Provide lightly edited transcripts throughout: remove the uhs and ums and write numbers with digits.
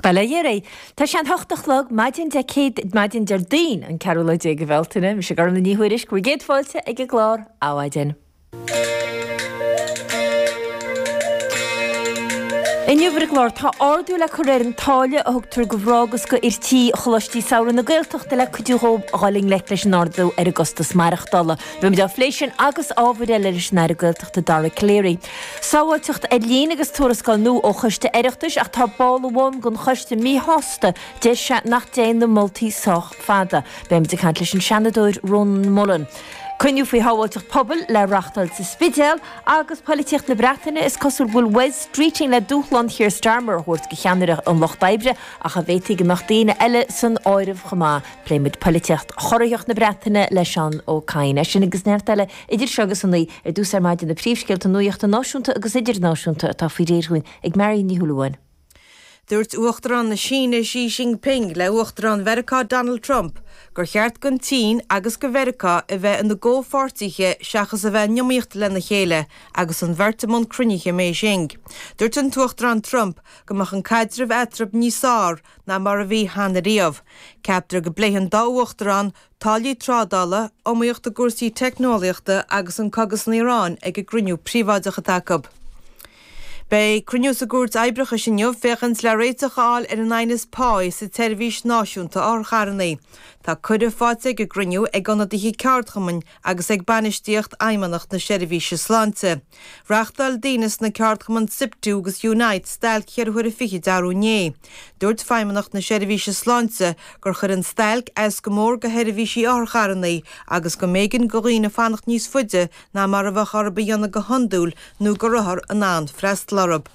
Bail ó Dhia oraibh. Tá sé an hocht a chlog, maidin Dé Céad, maidin Déardaoin, an ceathrú lá déag de Bhealtaine. Mise Gormfhlaith Ní Thuairisg, bhur gcéad fáilte ag an gclár Adhmhaidin. Inniu ar an gclár, tá ardú le cur ar an táille a thugtar do mhná agus do fhir tí Choláistí Samhraidh na Gaeltachta le cuidiú dhóibh dhul i ngleic leis an ardú ar an gcostas maireachtála. Beimid á phlé sin agus ábhair eile leis an Aire Gaeltachta Dara Calleary. Sábháilteacht ar líne agus tuarascáil nua ó choiste Oireachtais ach tá ball amháin den choiste míshásta, deir sé nach dtéann na moltaí sách fada. Beimid ag caint leis an Seanadóir Rónán Mullen. Cruinniú faoi shábháilteacht pobail le reáchtáil sa Spidéal agus poilitíocht na Breataine, is cosúil go bhfuil Wes Streeting le dúshlán Keir Starmer a thabhairt do cheannaire an Lucht Oibre ach an bhféadfaidh go mbeadh daoine eile san áireamh chomh maith. Pléimid poilitíocht chorraitheach na Breataine le Seán Ó Cadhain. É sin agus neart eile idir seo agus a naoi ar dtús ar maidin na príomhscéalta nuachta náisiúnta agus idirnáisiúnta atá faoi réir dhúinn ag Marion Ní Shúilleabháin. Dúirt Uachtarán na Síne Xi Jinping le Uachtarán Mheiriceá Donald Trump gur cheart don tSín agus do Mheiriceá a bheith ina gcomhpháirtithe seachas a bheith in iomaíocht lena chéile agus an bheirt i mbun cruinnithe i mBeijing. Dúirt an tUachtarán Trump go mbeadh an caidreamh eatarthu níos fearr ná mar a bhí cheana riamh. Ceaptar go bpléifidh an dá uachtarán táillí trádála, iomaíocht i gcúrsaí teicneolaíochta agus an cogadh san Iaráin ag an gcruinniú príobháideach atá acu. Beidh cruinniú sa gCúirt Oibreachais inniu féachaint le réiteach a fháil ar an aighneas páí sa tseirbhís náisiúnta otharcharranna. Tá cuireadh faighte ag an gcruinniú ag ionadaithe ceardchumainn agus ag bainistíocht Fheidhmeannacht na Seirbhíse Sláinte. Reáchtáil daoine sna ceardchumainn Siptu agus Unite stailc cheithre huaire fichid arú inné. Dúirt Feidhmeannacht na Seirbhíse Sláinte gur chuir an stailc as go mór do sheirbhísí otharcharranna agus go mb'éigean do dhaoine fanacht níos faide ná mar a bheadh orthu a dhéanamh go hiondúil nó go raibh othar in ann freastal orthu.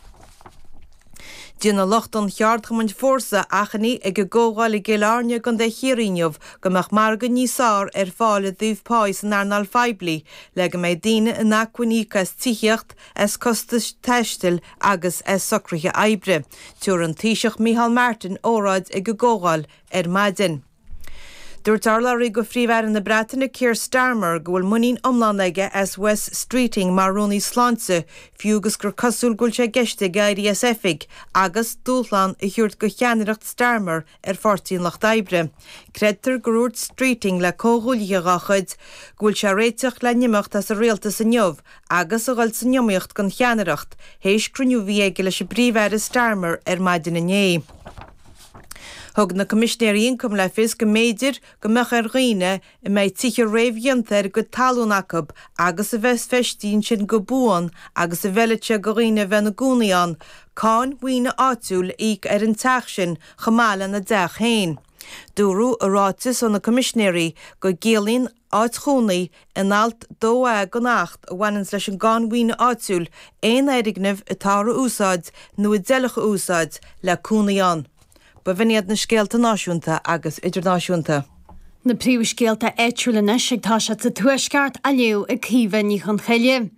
Déanfaidh lucht an cheardchumainn Fórsa achainí ag an gcomhdháil i gCill Airne i gContae Chiarraí inniu go mbeadh margadh níos fearr ar fáil i dtaobh páí san earnáil phoiblí le go mbeidh daoine in acmhainn íoc as tithíocht, as costais taistil agus as socruithe oibre. Tabharfaidh an Taoiseach Micheál Martin óráid ag an gcomhdháil ar maidin. Dúirt urlabhraí do Phríomh-Aire na Breataine Keir Starmer go bhfuil muinín iomlán aige as Wes Streeting mar Rúnaí Sláinte fiú agus gur cosúil go bhfuil sé i gceist aige éirí as oifig agus dúshlán a thabhairt do cheannaireacht Starmer ar Pháirtí an Lucht Oibre. Creidtear gur dhúirt Streeting le comhghuaillithe dá chuid go bhfuil sé réiteach le n-imeacht as an rialtas inniu agus a dhul san iomaíocht don cheannaireacht théis cruinniú a bhí aige leis an bPríomh-Aire Starmer ar maidin inné. Thug na Coimisinéirí Ioncaim le fios go mb'fhéidir go mbeadh ar dhaoine a mbeidh tithe réamhdhéanta ar a gcuid talún acu agus a bheas feistithe ansin go buan agus a bhfeilfidh sé do dhaoine a bheith ina gcónaí ann, cáin mhaoine áitiúil a íoc ar an teach sin chomh maith lena dteach féin. Dúradh i ráiteas ó na Coimisinéirí go gciallaíonn áit chónaí in alt 2A den Acht a bhaineanns leis an gCáin Mhaoine Áitiúil aon fhoirgneamh atáthar a úsáid nó a d'fheilfeadh a úsáid le cónaí ann. B'in iad na scéalta náisiúnta agus idirnáisiúnta. Na príomhscéalta áitiúla anois ag toiseacht sa Tuaisceart á léamh ag Caoimhe Ní Chonchoille.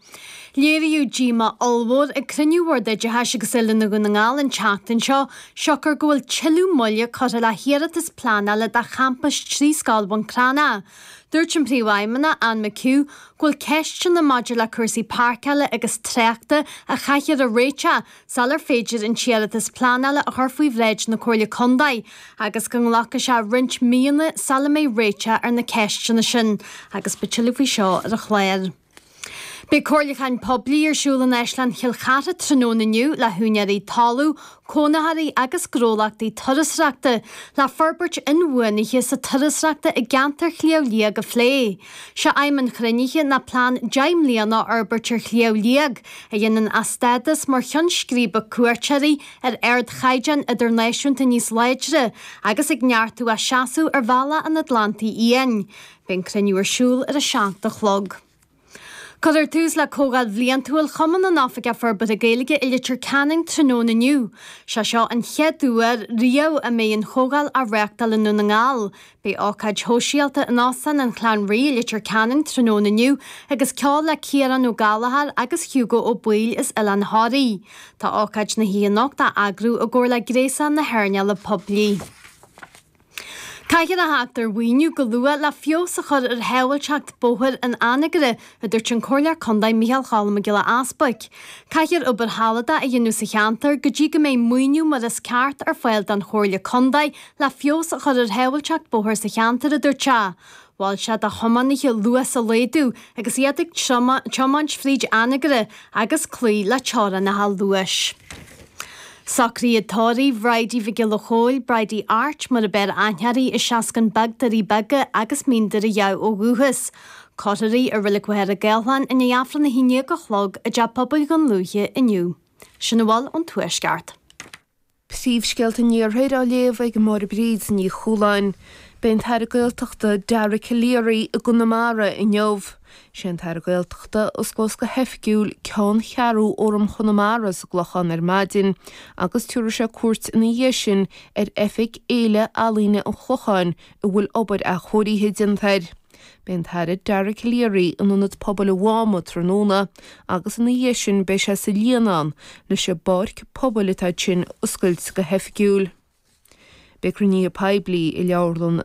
Léiríodh díomá ollmhór ag cruinniú Bhord Oideachais agus Oiliúna Dhún na nGall an tseachtain seo siocair go bhfuil tuilleadh moille curtha le hiarratas pleanála do champas trí scoil Bhun Cranncha. Dúirt an Príomhfheidhmeannach, Anne McHugh, go bhfuil ceisteanna maidir le cúrsaí páirceála agus tráchta a chaithfear a réiteach sular féidir an t-iarratas pleanála a chur faoi bhráid na Comhairle Contae agus go nglacfaidh sé roinnt míonna sula mbeidh réiteach ar na ceisteanna sin agus beidh tuilleadh faoi seo ar an chlár. Beidh comhairliúchán poiblí ar siúl in Áislann Chill Chartha tráthnóna inniu le húinéirí talún, cónaitheoirí agus gnólachtaí turasóireachta le forbairt inbhuanaithe sa turasóireachta i gceantar Shliabh Liag a phlé. Sé aidhm an chruinnithe ná plean 10 mbliana a fhorbairt ar Shliabh Liag a dhéanann a stádas mar cheann scríbe cuairteoirí ar ardchaighdeán idirnáisiúnta níos láidre agus ag neartú a seasamh ar bhealach an Atlantaigh Fhiáin. Beidh an cruinniú ar siúl ar a 7 a chlog. Cuirfear tús le Comhdháil Bhliantúil Chumann na nOifigeach Forbartha Gaeilge i Leitir Ceanainn tráthnóna inniu. Sé seo an chéad uair riamh a mbeidh an chomhdháil á reáchtáil i nDún na nGall. Beidh ócáid shóisialta in Óstán an Chlann Rí i Leitir Ceanainn tráthnóna inniu agus ceol le Ciarán Ó Gallchóir agus Hugo Ó Baoill as Oileán Thoraí. Tá ócáid na hoíche anocht á eagrú i gcomhar le Gréasán na hEarnála Poiblí. Caithfear a theacht ar mhaoiniú go luath le feabhas a chur ar shábháilteacht bóthair in Anagaire, a dúirt an Comhairleoir Contae Micheál Cholm Mac Giolla Easbuic. Caithfear obair shealadach a dhéanamh sa cheantar go dtí go mbeidh maoiniú mar is ceart ar fáil don Chomhairle Contae le feabhas a chur ar shábháilteacht bóthair sa cheantar, a dúirt sé. Mhol sé do thiománaithe luas a laghdú agus iad ag tiomáint fríd Anagaire agus cloí le teorainneacha luais. Socruithe tórraimh Bhridie Mhic Giolla Chóill, Bridie Art mar ab fhearr aithne uirthi as Seascann Beag, Doirí Beaga agus Mín Doire Dhamh ó dhúchas. Cuirfear í i Reilig Mhachaire Gathlán i ndiaidh Aifreann 11 a chlog i dTeach Pobail Dhún Lúiche inniu. Sin a bhfuil ón Tuaisceart. Príomhscéalta an Iarthair á léamh ag Máire Bríd Ní Chualáin. Beidh an tAire Gaeltachta Dara Calleary i gConamara inniu. Sé an tAire Gaeltachta a osclós go hoifigiúil ceanncheathrú Fhóram Chonamara sa gClochán ar maidin agus tabharfaidh sé cuairt ina dhiaidh sin ar oifig Fhéile Ealaíne an Chlocháin a bhfuil obair athchóirithe déanta air. Beidh an tAire Dara Calleary in Ionad Pobail an Mháma tráthnóna agus ina dhiaidh sin beidh sé sa Líonán leis an bpáirc pobail atá ansin a oscailt go hoifigiúil. Beidh cruinnithe poiblí i Leabharlann na.